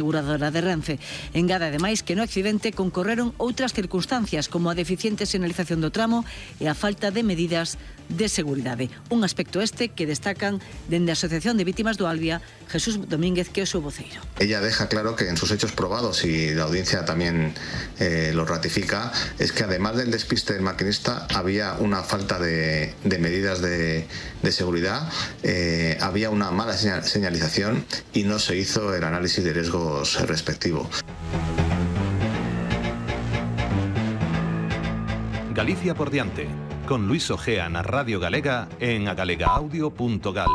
aseguradora de Renfe. Engade ademais que no accidente concorreron outras circunstancias como a deficiente sinalización do tramo e a falta de medidas de seguridade. Un aspecto este que destacan dende a Asociación de Vítimas do Albia, Jesús Domínguez, que é o seu voceiro. Ella deja claro que en sus hechos probados, y la audiencia también lo ratifica, es que además del despiste del maquinista había una falta de medidas de seguridad, había una mala señalización y no se hizo el análisis de riesgos respectivo. Galicia por diante, con Luis Ojea na Radio Galega en agalegaaudio.gal.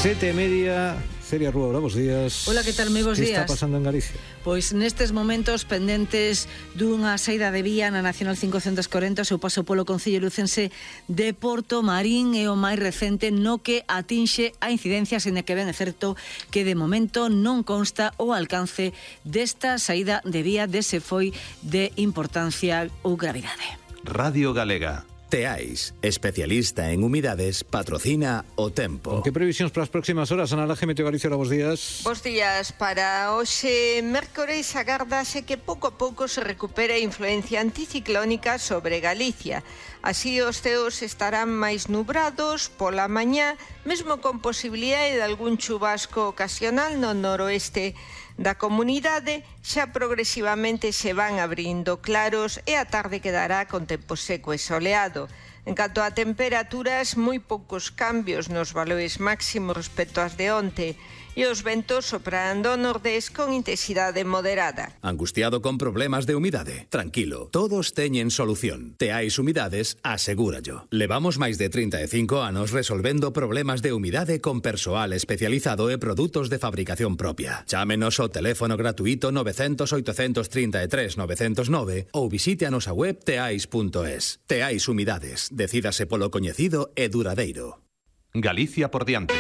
7:30, Celia Rúa, bons días. Hola, que tal? Moi bons días. Que está pasando en Galicia? Pois nestes momentos pendentes dunha saída de vía na Nacional 540, o seu paso polo Concello lucense de Porto Marín é o máis recente no que atinxe a incidencia, sen que ben é certo que de momento non consta o alcance desta saída de vía dese foi de importancia ou gravidade. Radio Galega. Teais, especialista en humidades, patrocina o tempo. Que previsións para as próximas horas? Ana Laje, Meteo Galicia, bons días. Bos días. Para hoxe, mércores, agárdase que pouco a pouco se recupera a influencia anticiclónica sobre Galicia. Así os ceos estarán máis nubrados pola mañá, mesmo con posibilidade de algún chubasco ocasional no noroeste da comunidade. Xa progresivamente se van abrindo claros e a tarde quedará con tempo seco e soleado. En canto a temperaturas, moi poucos cambios nos valores máximos respecto ás de onte e os ventos soprarán do nordés con intensidade moderada. Angustiado con problemas de humidade? Tranquilo, todos teñen solución. Teais Humidades asegúrallo. Levamos máis de 35 anos resolvendo problemas de humidade con persoal especializado e produtos de fabricación propia. Chámenos ao teléfono gratuito 900 833 909 ou visite a nosa web teais.es. Teais Humidades. Decídase polo coñecido e duradeiro. Galicia por diante.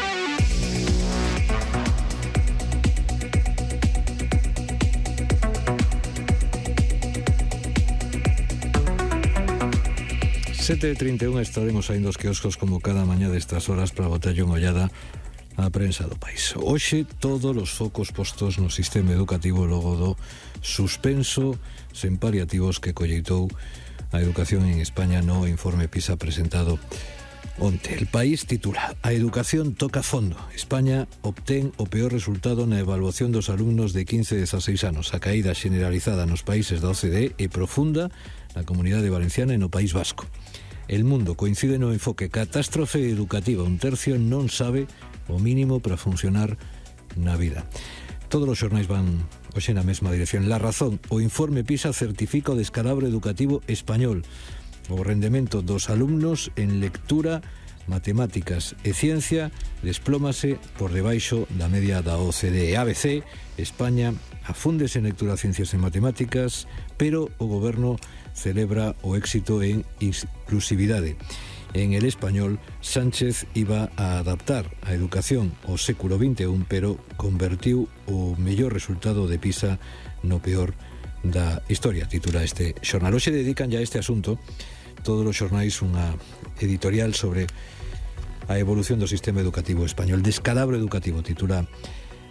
Sete 31 estaremos saindo os quioscos como cada mañá destas horas para botarlle unha ollada á prensa do país. Hoxe todos os focos postos no sistema educativo logo do suspenso sen paliativos que colleitou a educación en España no informe PISA presentado onte. El País titula: A educación toca fondo. España obtén o peor resultado na evaluación dos alumnos de 15 e 16 anos. A caída generalizada nos países da OCDE é profunda na Comunidade Valenciana e no País Vasco. El Mundo coincide no enfoque: catástrofe educativa, un tercio non sabe o mínimo para funcionar na vida. Todos os xornais van hoxe na mesma dirección. La Razón: o informe PISA certifica o descalabro educativo español. O rendemento dos alumnos en lectura, matemáticas e ciencia desplómase por debaixo da media da OCDE. ABC: España afúndese en lectura, ciencias e matemáticas, pero o goberno celebra o éxito en inclusividade. En El Español, Sánchez iba a adaptar a educación ao século XXI, pero convertiu o mellor resultado de PISA no peor da historia, titula este xornal. Hoxe dedican ya a este asunto todos os xornais unha editorial sobre a evolución do sistema educativo español. Descalabro educativo, titula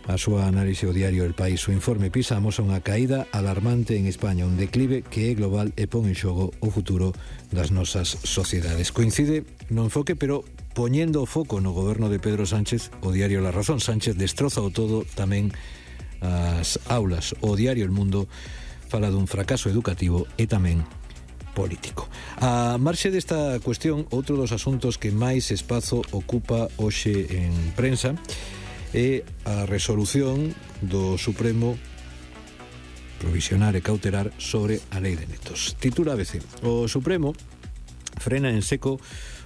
a súa análise o diario El País. O informe PISA amosa unha caída alarmante en España, un declive que é global e pon en xogo o futuro das nosas sociedades. Coincide no enfoque, pero poñendo o foco no goberno de Pedro Sánchez, o diario La Razón. Sánchez destroza o todo, tamén as aulas. O diario El Mundo fala dun fracaso educativo e tamén político. A marxe desta cuestión, outro dos asuntos que máis espazo ocupa hoxe en prensa é a resolución do Supremo provisional e cautelar sobre a lei de netos. Titula ABC: o Supremo frena en seco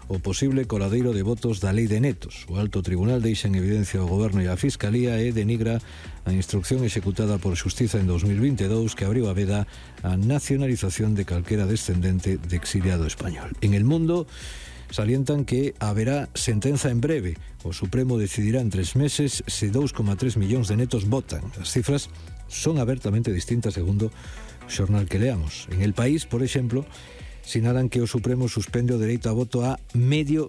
o posible coladeiro de votos da lei de netos. O alto tribunal deixa en evidencia o goberno e a Fiscalía e denigra a instrucción executada por Xustiza en 2022 que abriu a veda a nacionalización de calquera descendente de exiliado español. En El Mundo salientan que haberá sentenza en breve. O Supremo decidirá en 3 meses se 2,3 millóns de netos votan. As cifras son abertamente distintas segundo o xornal que leamos. En El País, por exemplo, sinalan que o Supremo suspende o dereito a voto a medio